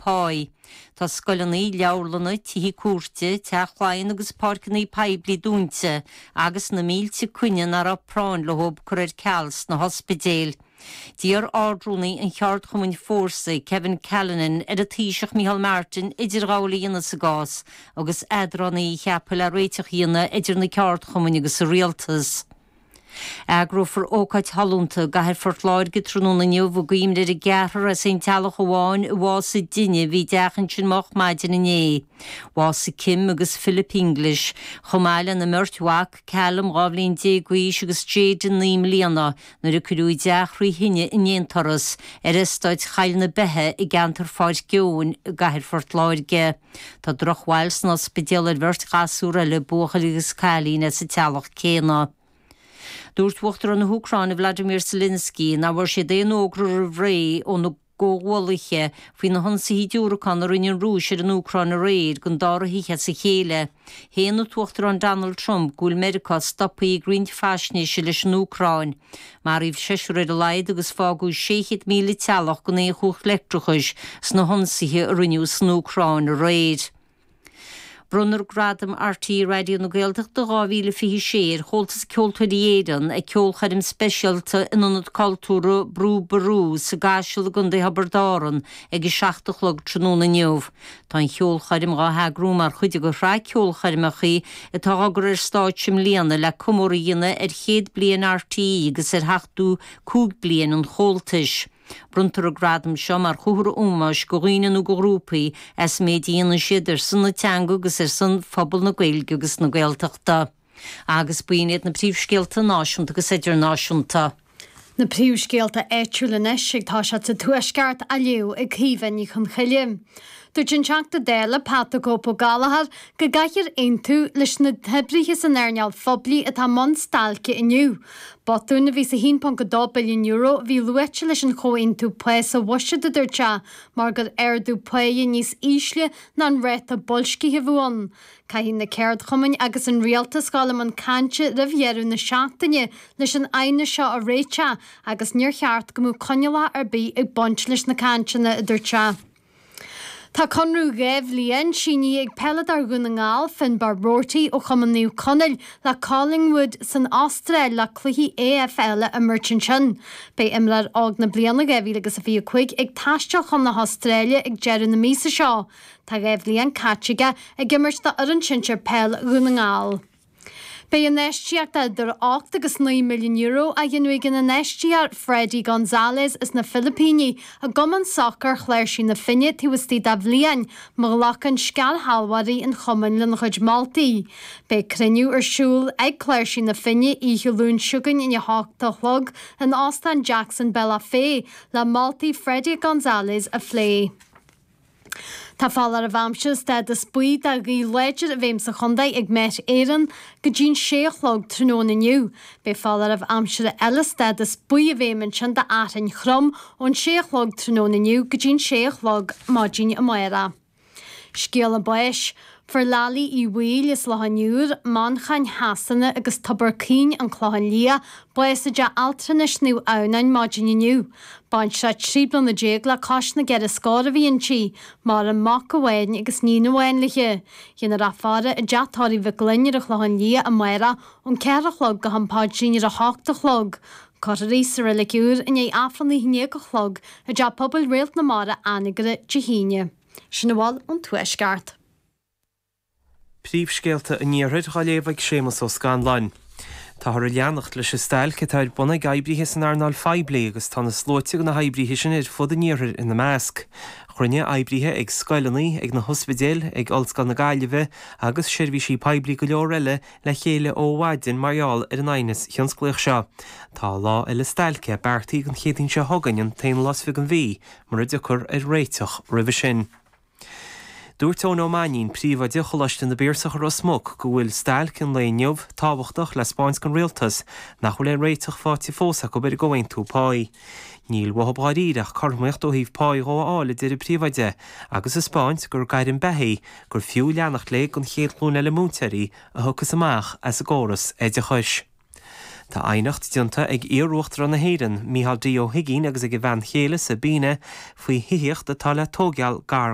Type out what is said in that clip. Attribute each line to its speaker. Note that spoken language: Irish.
Speaker 1: páí. Tá scoileanna, leabharlanna, tithe cúirte, Teach Laighean agus páirceanna poiblí dúnta agus na mílte coinne nach raibh práinn leo curtha ar ceal sna hospidéil. D'iarr Ard-Rúnaí an cheardchumainn Fórsa, Kevin Callinan, ar an Taoiseach Micheál Martin idirghabháil a dhéanamh sa gcás agus eadránaí a cheapadh le réiteach a dhéanamh idir na ceardchumainn agus an rialtas. Eagrófar ócáid shollúnta i gcathair Phort Láirge tráthnóna inniu i gcuimhne ar an gceathrar as aon teaghlach amháin a bhásaigh i dtine a bhí i dteach ansin moch maidin inné. Bhásaigh Kim agus Philip English, chomh maith lena mbeirt mhac, Callum, 12 bhliain d'aois agus Jayden, 9 mbliana, nuair a cuireadh a dteach thrí thine in aon turas ar eastáit Choill na Beithe i gceantar Pháirc Eoin i gcathair Phort Láirge. Tá drochbhail san ospidéal ar bheirt ghasúr eile, buachaill agus cailín as an teaghlach céanna. Dúirt Uachtarán na hÚcráine Vladimir Zelensky nach bhfuair siad aon fhógra roimh ré óna gcomhghuallaithe faoi na hionsaithe diúracán a rinne an Rúis ar an Úcráin aréir don dara hoíche as a chéile. Shéan an tUachtarán Donald Trump go bhfuil Meiriceá stoptha ag roinnt faisnéise leis an Úcráin. Maraíodh seisear ar a laghad agus fágadh 600,000 teaghlach gan aon chumhacht leictreachais sna hionsaithe a rinneadh san Úcráin aréir. Bronnfar Gradam RTÉ Raidió na Gaeltachta 2026 ar Chomhaltas Ceoltóirí Éireann ag ceolchoirm speisialta in Ionad Cultúrtha Brú Ború sa gCaiseal i gContae Thiobraid Árann ag 7 a chlog tráthnóna inniu. Tá an cheolchoirm dhá heagrú mar chuid de shraith ceolchoirmeacha atá á gcur ar stáitse i mbliana le comóradh a dhéanamh ar chéad bliain RTÉ agus ar 75 bliain an Chomhaltais. Bronntar an gradam seo mar chomhartha ómóis do dhaoine nó do ghrúpaí as an méid a dhéanann siad ar son na teanga agus ar son phobal na Gaeilge agus na Gaeltachta. Agus b'in iad na príomhscéalta náisiúnta agus idirnáisiúnta.
Speaker 2: Na príomhscéalta áitiúla anois ag toiseacht sa Tuaisceart á léamh ag Caoimhe Ní Chonchoille. Dúirt an Teachta Dála Pat 'The Cope' Ó Gallchóir go gcaithfear aontú leis na hoibrithe san earnáil phoiblí atá i mbun stailce inniu. Botún a bhí sa €1.2 billiún a bhí luaite leis an chomhaontú pá sa bhuiséad, a dúirt sé, mar gur ardú páighe níos ísle ná an ráta boilscithe a bheadh ann. Caithfidh na ceardchumainn agus an rialtas dhul i mbun cainte roimh dheireadh na seachtaine leis an aighneas seo a réiteach agus níor cheart go mbeadh coinníollacha ar bith ag baint leis na cainteanna, a dúirt sé. Tá conradh 2 bhliain sínithe ag peileadóir Dhún na nGall, Finbarr Roarty ó Chumann Naomh Conaill le Collingwood san Astráil le cluichí AFL a imirt ansin. Beidh imreoir óg na bliana 2025 ag taisteal chun na hAstráile ag deireadh na míosa seo. Tá 2 bhliain caite aige ag imirt do fhoireann sinsir peil Dhún na nGall. Beidh infheistíocht idir €8 agus €9 milliún á dhéanamh ag an infheisteoir Fredy Gonzalez as na Filipíní i gcumann sacair Chláirsigh na Finne taobh istigh de bhliain má ghlacann scairshealbhóirí an chumainn lena chuid moltaí. Beidh cruinniú ar siúl ag Cláirsigh na Finne oíche Luain seo chugainn ina 8 a chlog in Óstán Jackson Bealach Féich le moltaí Fredy Gonzalez a phlé. Tá foláireamh aimsire stádas buí do ghaoth láidir i bhfeidhm sa chontae ag Met Éireann go dtí'n sé a chlog tráthnóna inniu. Beidh foláireamh aimsire eile stádas buí i bhfeidhm ansin d'fhearthainn throm ón sé a chlog tráthnóna inniu go dtí'n sé a chlog maidin amárach. Scéala báis. Fuair Laillí Uí Bhaoill as Loch an Iúir, Manchain Shasana agus Tobar Caoin, An Clochán Liath, bás i dteach altranais Naomh Adhamhnáin maidin inniu. Baintreach 13 bliana le cois na gceithre scór a bhí inti. Maireann mac amháin agus níon amháin léi. Déanfar í a faire i dteach tórraimh Mhic Gloinn ar an Chlochán Liath amárach ón 4 a chlog go ham paidrín ar a hocht a chlog. Cuirfear í sa Reilig Úr i ndiaidh Aifreann a 11 a chlog i dTeach Pobail Réalt na Mara, Anagaire, Dé hAoine. Sin a bhfuil ón Tuaisceart.
Speaker 3: Príomhscéalta an Iarthair á léamh ag Séamus Ó Scanláin. Táthar ag leanacht leis an stailc atá ar bun ag oibrithe san earnáil phoiblí agus tá na sluaite de na hoibrithe sin ar fud an iarthair ina measc. Chruinnigh oibrithe ag scoileanna, ag na hospidéil, ag Ollscoil na Gaillimhe agus seirbhísí poiblí go leor eile le chéile ó mhaidin mar gheall ar an aighneas thionsclaíoch seo. Tá lá eile stailce beartaithe don Chéadaoin seo chugainn, an t-aon lá is fiche den mhí, mura dtiocfar ar réiteach roimhe sin. Dúirt Eoin Ó Mainnín, príomhoide Choláiste na bPiarsach i Ros Muc, go bhfuil stailc an lae inniu tábhachtach le 'spáint don rialtas nach bhfuil aon réiteach faighte fós acu ar an gcomhaontú páí. Níl uathu dháiríre ach cothromaíocht ó thaobh páí dhó a fháil, a deir an príomhoide, agus a 'spáint gur gairm beatha í gur fiú leanacht léi don chéad ghlúin eile múinteoirí a thiocfas amach as an gcóras oideachais. Tá aighneacht déanta ag iar-Uachtarán na hÉireann, Micheál D. Ó hUigínn agus ag a bhean chéile, Sabina, faoi thithíocht atá le tóigeáil gar.